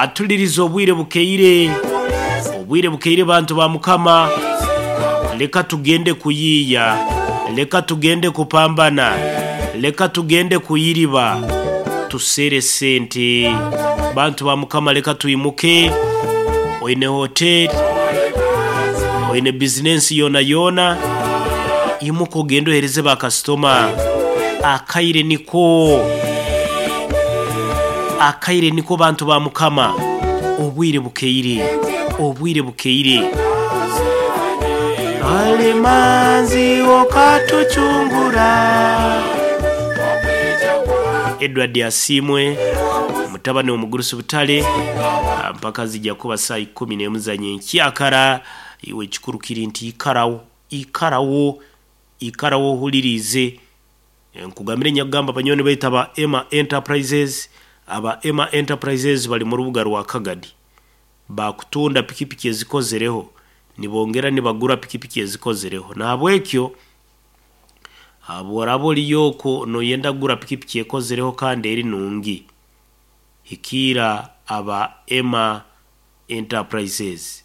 Atulirize obwire bukeire, obwire bukeire bantu ba Mukama, leka tugende kuyiiya, leka tugende kupambana, leka tugende kuyiriba, tusere sente. Bantu ba Mukama leka twimuke, oine hoteri, oine bizinensi yoonayoona, imuka ogende oheereze bakasitoma. Akaire niko. Akaire niko bantu ba Mukama. Obwire bukeire. Obwire bukeire. Alimanzi okatucungura. Edward Asiimwe mutabani w'omugurusi Butare mpaka zija kuba saa ikumi n'emu za nyenkyakara. Iwe ekikuru kiri nti ikarawo, ikarawo, ikarawo ohuririize. Nkugambire nyakugamba banywani baitu aba Emma Enterprises, aba Emma Enterprises bari mu rubuga rwa Kagadi. Bakutunda pikipiki ezikozereho, nibongera nibagura pikipiki ezikozereho. Nahabwekyo bworaba oriyo okwo noyenda kugura pikipiki ekozereho kandi eri nungi, hikiira aba Emma Enterprises.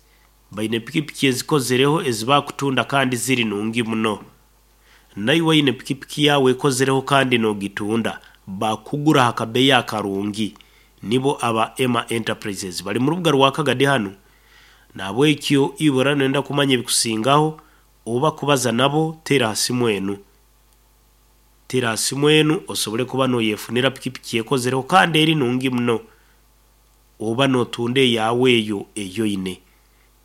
Baine pikipiki ezikozereho ezi bakutunda kandi ziri nungi muno. Naiwe oine pikipiki yaawe ekozereho kandi noogitunda, baakukugura aha kabeeyi akarungi. Nibo aba Emma Enterprises. Bari mu rubuga rwa Kagadi hanu. Nahabwekyo iwe oraba nooyenda kumanya ebikusingaho oba kubaza nabo, teera aha simu enu. Teera aha simu enu osobole kuba nooyefunira pikipiki ekozereho kandi eri nungi muno. Oba nootunda eyaawe eyo ei oine.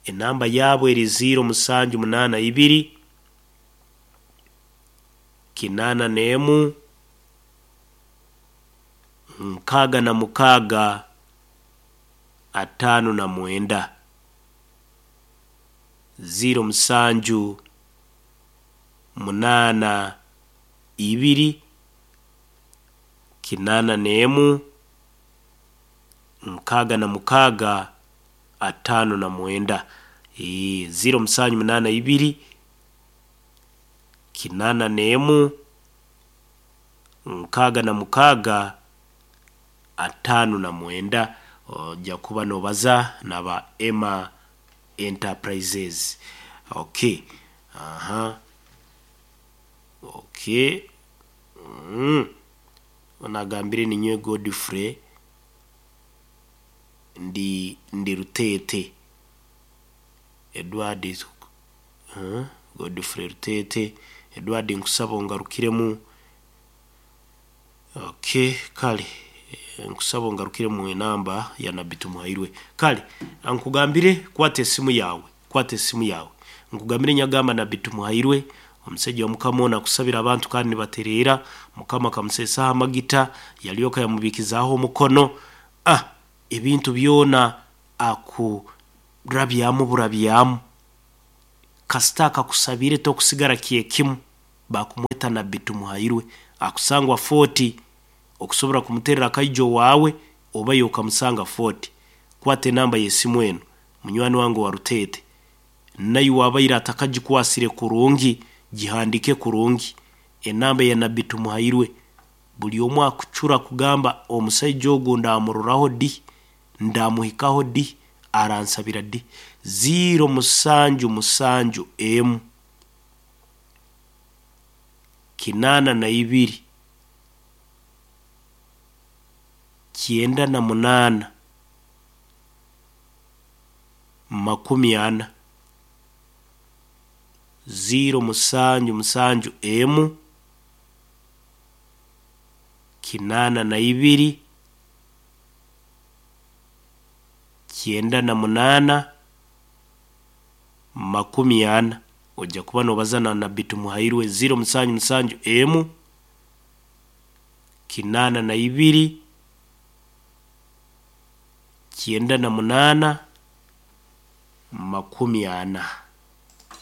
Enamba yaabo eri ziiro musanju munaana ibiri. Kinaana n'emu, 66, 59. Ziiro musanju, munaana, ibiri, 81, 66, 59. Eeh, ziiro musanju munaana ibiri. 81, 66, 59 oja kuba nobaza na ba Emma Enterprises. Ok aha ok mm onu agambire ninyowe Godfrey ndi ndi Ruteete Edward. Godfrey Ruteete, Edward nkusaba ongarukiremu Ok kare nkusaba ongarukiremu enamba ya Nabbi Tumuhairwe. Kare nkugambire kwata esimu yaawe, kwata esimu yaawe. Nkugambire nyagamba Nabbi Tumuhairwe omusaija wa Mukama onu akusabira abantu kandi nibatereera, Mukama akamuseesaho amagita yaryoka yamubiikizaaho omukono. Ah ebintu byona akurabyamu burabyamu. Kasita akakusabire tokusigara kyekimu bakumweta Nabbi Tumuhairwe akusangwa Fort okusobora kumuterera akaija owaawe oba iwe okamusanga Fort. Kwata enamba yesimu enu munywani wange owa Ruteete naiwe abaire atakagikwasire kurungi gihandike kurungi enamba ya Nabbi Tumuhairwe buri omwe akucura kugamba omusaija ogu ndamuroraho di Ndamuhikaho di? Aransabira di? Ziiro musanju musanju emu, 82, 98, 40. Ziiro musanju musanju emu, 82. 98, 40. Oija kuba noobaza na Nabbi Tumuhairwe, ziiro musanju musanju emu, 82, 98, 40.